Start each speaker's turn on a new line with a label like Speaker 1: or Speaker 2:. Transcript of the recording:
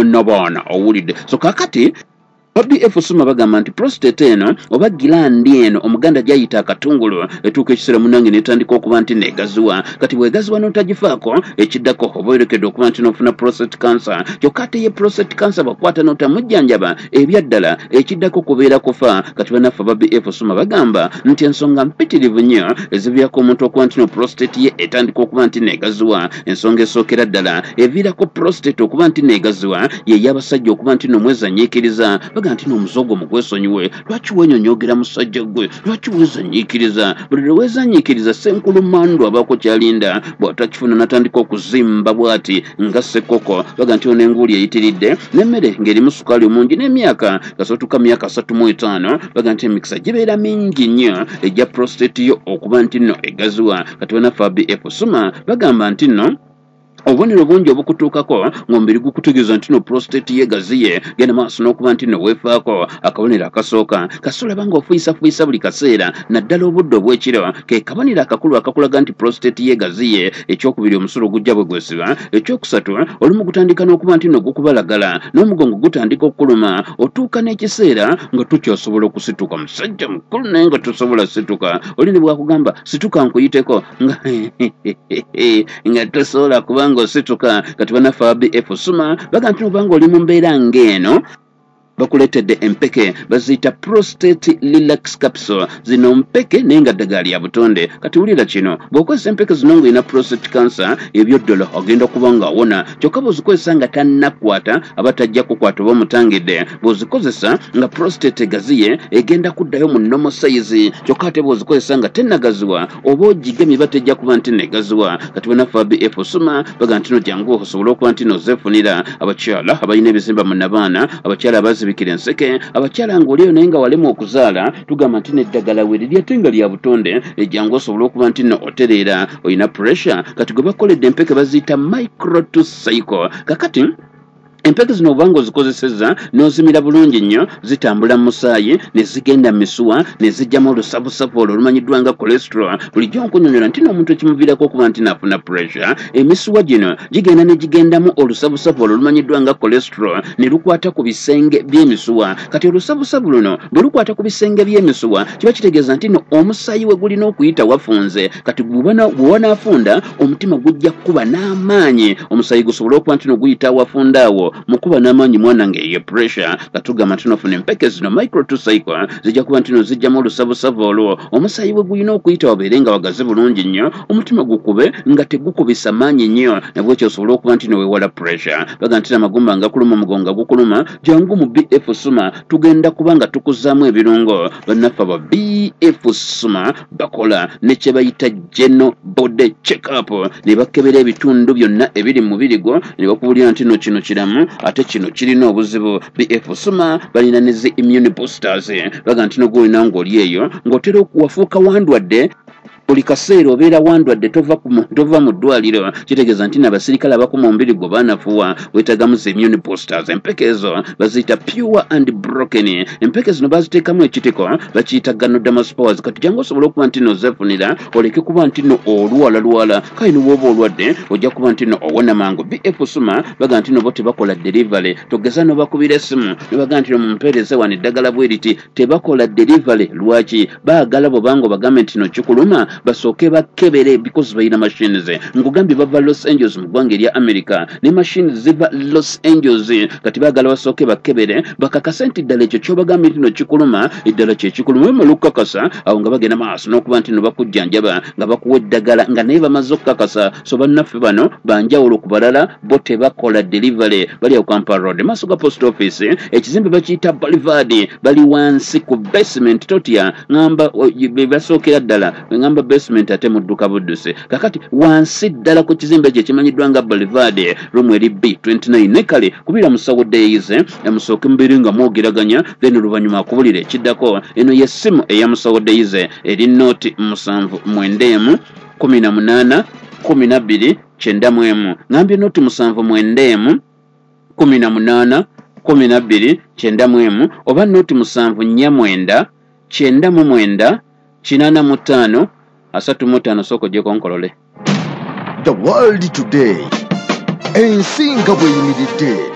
Speaker 1: Nnabaana owulidde. So kakati BF Suma bagamba nti prostate eno oba gland eno Omuganda gyayita akatungulu etuuka ekiseera munange netandika okuba nti negaziwa. Kati bwegaziwa n'otagifaako, ekiddako oba oyolekedde okuba nti nofuna prostate cancer. Kyokka ate ye prostate cancer bwakwata n'otamujjanjaba, ebyaddala ekiddako kubeera kufa. Kati bannaffe aba BF Suma bagamba nti ensonga mpitirivu nnyo eziviirako omuntu okuba nti no prostate ye etandika okuba nti negaziwa. Ensonga esookera ddala eviirako prostate okuba nti negaziwa ye y'abasajja okuba nti nomwezanyiikiriza. Baga nti n'omuze ogwo mugwesonyiwe. Lwaki wenyonyogera musajja gwe? Lwaki weezanyiikiriza? Buli lwe weezanyiikiriza, senkulumandu abaako kyalinda, bw'atakifuna natandika okuzimba bw'ati nga ssekoko. Baga nti ono enguuli eyitiridde n'emmere ng'erimu sukaali omungi n'emyaka kasootuka myaka 35, baga nti emikisa gibeera mingi nnyo ejja prostate yo okuba nti nno egaziwa. Kati banaffe BF Suma bagamba nti nno obubonero bungi obukutuukako ng'omubiri gukutegeeza nti no prostate ye gaziye, genda maaso n'okuba nti no weefaako. Akabonero akasooka, kasolaba ng'ofuyisafuyisa buli kaseera, naddala obudde obw'ekiro, ke kabonero akakulu akakulaga nti prostate ye gaziye. Ekyokubiri, omusulo gujja bwe gwesiba. Ekyokusatu, olumu gutandika n'okuba nti no gukubalagala n'omugongo gutandika okukuluma, otuuka n'ekiseera nga tukyasobola okusituka. Musajja mukulu naye nga tosobola situka. Oli ne bwakugamba situka nkuyiteko, nga tosobola kubanga osituka. Kati bannaffe aba BF Suma baga nti obanga oli mu mbeera ng'eno, bakuleetedde empeke baziyita Prostate Relax Capsule. Zino mpeke naye nga ddagala lya butonde. Kati wulira kino, bw'okozesa empeke zino ng'olina prostate cancer, ebyo ddala agenda kuba ng'awona. Kyokka bw'ozikozesa nga tannakwata, aba tajja kukwata oba omutangidde. Bw'ozikozesa nga prostate egaziye, egenda kuddayo mu normal size. Kyokka ate bw'ozikozesa nga tennagaziwa, oba ogigemye, ba tejja kuba nti negaziwa. Kati bannaffe BF Suma baga nti no jangu osobole okuba nti nozeefunira. Abakyala abalina ebizimba mu nabaana, abakyala abazibikira enseke, abakyala ng'olieyo naye nga walema okuzaala, tugamba nti neddagala weriri ate nga lya butonde, ejjangu osobole okuba nti no otereera. Olina pressure, kati gwe bakoledde empeke baziyita Micro to Cycle. Kakati empeke zino obanga ozikozesezza n'ozimira bulungi nnyo, zitambula mu musaayi ne zigenda mu misuwa ne zijjamu olusavusavu olwo olumanyiddwa nga cholesterol. Bulijjo nkunyonyola nti n'omuntu ekimuviirako okuba nti naafuna pressure, emisuwa gino gigenda ne gigendamu olusavusavu olwo olumanyiddwa nga cholesterol ne lukwata ku bisenge by'emisuwa. Kati olusavusavu luno bwe lukwata ku bisenge by'emisuwa, kiba kitegeeza nti no omusaayi we gulina okuyita wafunze. Kati bwe wanaafunda, omutima gujja kukuba n'amaanyi, omusaayi gusobole okuba nti no guyita awafunda awo. Mukuba n'amaanyi mwana ng'eyo pressure. Katugamba nti nofuna empeke zino Micro to Cycle, zijja kuba nti no zijjamu olusavusavu olwo, omusaayi bwe gulina okuyita wabeere nga wagazi bulungi nnyo, omutima gukube nga tegukubisa maanyi nnyo, nabwekyo osobole okuba nti nowewala pressure. Baga nti amagumba nga kuluma, omugongo nga gukuluma, jangu mu BF Suma, tugenda kuba nga tukuzaamu ebirungo. Bannaffe aba BF Suma bakola ne kye bayita general body check up, ne bakebera ebitundu byonna ebiri mu mubiri gwo ne bakubuulira nti no kino kiramu ate kino kirina obuzibu. BF Suma balina ne zi immune boosters. Baga nti nogwolina ng'oli eyo ng'otera wafuuka wandwadde, buli kaseera obeera wandwadde, tova mu ddwaliro, kitegeeza nti nabasirikale abakuma omubiri gwo baanafuwa, weetagamu zi immune boosters. Empeke ezo baziyita Pure and Broken. Empeke zino baziteekamu ekitiko bakiyita Ganoderma spores. Kati jangu osobole okuba nti no zeefunira, oleke kuba nti no olwalalwala. Kale niwooba olwadde, ojja kuba nti no owona mangu. BF Suma baga nti no bo tebakola delivery. Togeza nobakubira essimu nebaga nti no mumpeereze wano eddagala bwe riti, tebakola delivery. Lwaki? Baagala bwobanga obagambe nti no kikuluma, basooke bakebere because balina machines. Nkugambye bava Los Angeles mu ggwanga erya America, ne machines ziva Los Angeles. Kati baagala basooke bakebere bakakase nti ddala ekyo kyobagambye nti no kikuluma, eddala kyekikuluma. Bamala okukakasa awo nga bagenda maaso n'okuba nti no bakujjanjaba nga bakuwa eddagala nga naye bamaze okukakasa. So bannaffe bano banjawulo ku balala, bo tebakola delivery. Bali awo Kampala Road, maaso ga post office, ekizimbe bakiyita Boulevard, bali wansi ku basement. Totya, ŋamba be basookera ddala. Ŋamba basement ate mudduka buddusi. Kakati wansi ddala ku kizimbe ekyo ekimanyiddwa nga Boulevard, room eri B29. Ne kale kubira musawo Deyize, musooke mubeere nga mwogeraganya, then oluvannyuma akubulira ekiddako. Eno yessimu eya musawo Deyize, eri 079 18 12 91. Ŋambye 079 18 12 91 oba 074 99 85 35. Sooka ogyeko nkolole.
Speaker 2: The World Today, ensi nga bw'eyimiridde.